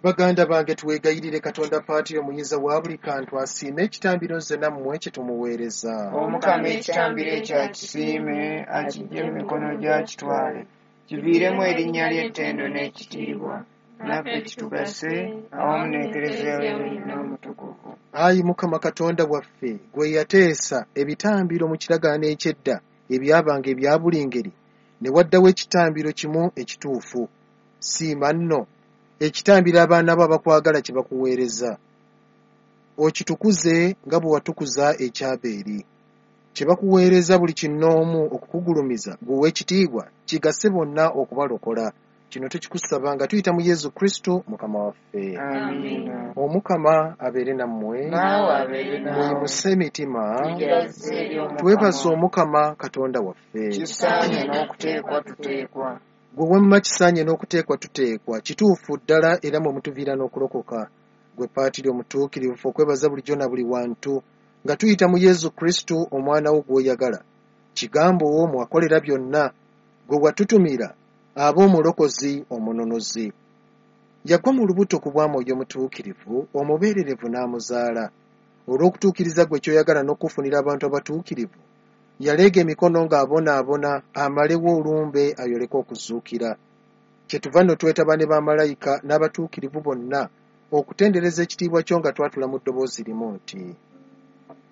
Baganda bange, twegayirire Katonda Paatiri Omuyinza wa buli kantu asiime ekitambiro nze nammwe kye tumuweereza. Omukama ekitambiro ekyo akisiime, akiggye mu mikono gye akitwale, kiviiremu erinnya lye ettendo n'ekitiibwa, naffe kitugase awamu n'Ekereziya ye yonna omutukuvu. Ayi Mukama Katonda waffe, gwe yateesa ebitambiro mu kiragaano eky'edda ebyabanga ebya buli ngeri, ne waddawo ekitambiro kimu ekituufu. Siima nno ekitambiro abaana bo abakwagala kye bakuweereza. Okitukuze nga bwe watukuza eky'Abeeri. Kye bakuweereza buli kinnoomu okukugulumiza ggwe ow'ekitiibwa kigase bonna okubalokola. Kino tukikusaba nga tuyita mu Yezu Kristu Mukama waffe. Amiina. Omukama abeere nammwe. Naawe abeere naawe. Muyimuse emitima. Tugiraze eri Omukama. Twebaze Omukama Katonda waffe. Kisaanye n'okuteekwa tuteekwa. Gwe wamma kisaanye n'okuteekwa tuteekwa, kituufu ddala era mwe mutuviira n'okulokoka. Gwe Paatiri omutuukirivu okwebaza bulijjo na buli wantu nga tuyita mu Yezu Kristu omwana wo gw'oyagala. Kigambo wo mwakolera byonna, gwe watutumira abe omulokozi omununuzi. Yagwa mu lubuto ku bwa Mwoyo Mutuukirivu, omubeererevu n'amuzaala. Olw'okutuukiriza ggwe ky'oyagala n'okufunira abantu abatuukirivu, yaleega emikono ng'abonaabona amalewo olumbe ayoleke okuzuukira. Kyetuva nno twetaba ne bamalayika n'abatuukirivu bonna okutendereza ekitiibwa kyo nga twatula mu ddoboozi limu nti.